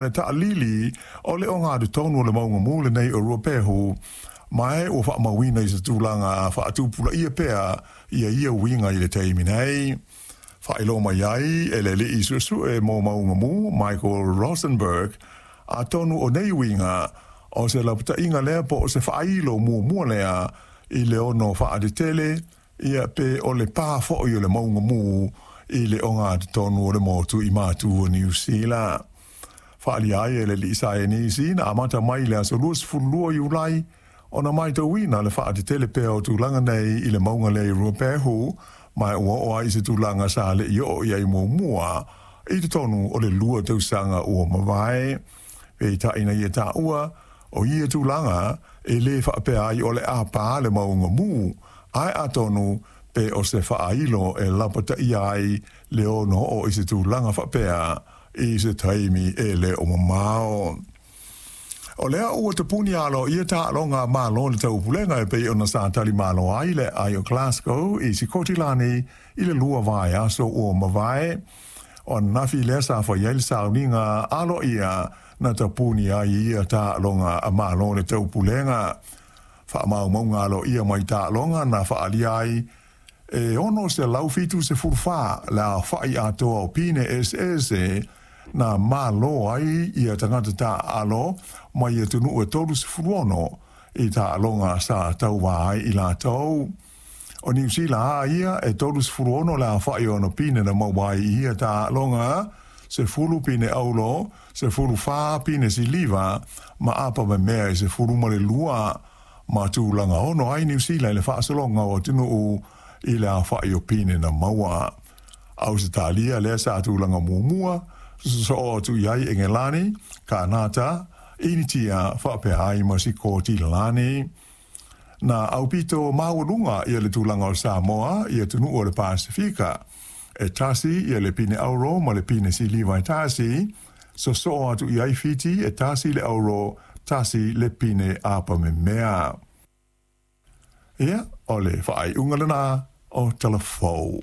Le taalili o le ogatotonu o le mauga mu lenei o Ruapehu, ma e ua faamauina i se tulaga faatupulaia pea ia ia uiga i le taimi nei. Faailoa mai ai e le alii suesue mo mauga mu Michael Rosenberg, atonu o nei uiga o se lapataiga lea po o se faailo muamua lea i le ono faatetele ia pe o le pā foi o le mauga mu i le ogatotonu o le motu i matu o Niu Sila. Faaalia ai e le alii saienisi na amata mai i le aso 22 Iulai ona matauina le faatetele pea o tulaga nei i le mauga lea i Ruapehu, ma ua oo ai i se tulaga sa le i oo i ai muamua i totonu o le 2 tausaga ua mavae. Peitai na ia taua, o ia tulaga e lē faapea ai o le a pā le mauga mu, ae atonu pe o se faailo e lapataia ai le ono oo i se tulaga faapea i se taimi e le o mamao. O lea ua tapuni aloaia taaloga a Malo i le Taupulega e pei ona sa tali malo ai le aai o Glasgow i Sikotilani i le 2 vaiaso ua mavae. O ananafi lea sa fai ai le sauniga aloaia na tapuni ai ia taaloga a Malo i le Taupulega. Faamaumauga aloaia mai taaloga na faaalia ai e 674 le aofai atoa o pine eseese na malo ai ia tagata taaalo mai atunuu e 36 i taaloga sa tauva ai i latou. O Niu Sila a ia e 36 le aofai o ona pine na maua ai i ia taaloga, 10 pine auro, 14 pine siliva ma apa memea e 12, ma tulaga ono ai Niu Sila i le faasologa o atunuu i le aofai o pine na maua. Ausetalia lea sa tulaga muamua, sosoo atu i ai Engelani, Kanata, Initia faapea ai ma Sikotilani. Na aupito maualuga ia le tulaga o Samoa i atunuu o le Pasefika, e 1 ia le pine auro ma le pine siliva e 1, sosoo atu i ai Fiti e 1 le auro, 1 le pine apamemea. Ia, o le faaiuga lena o Talafou.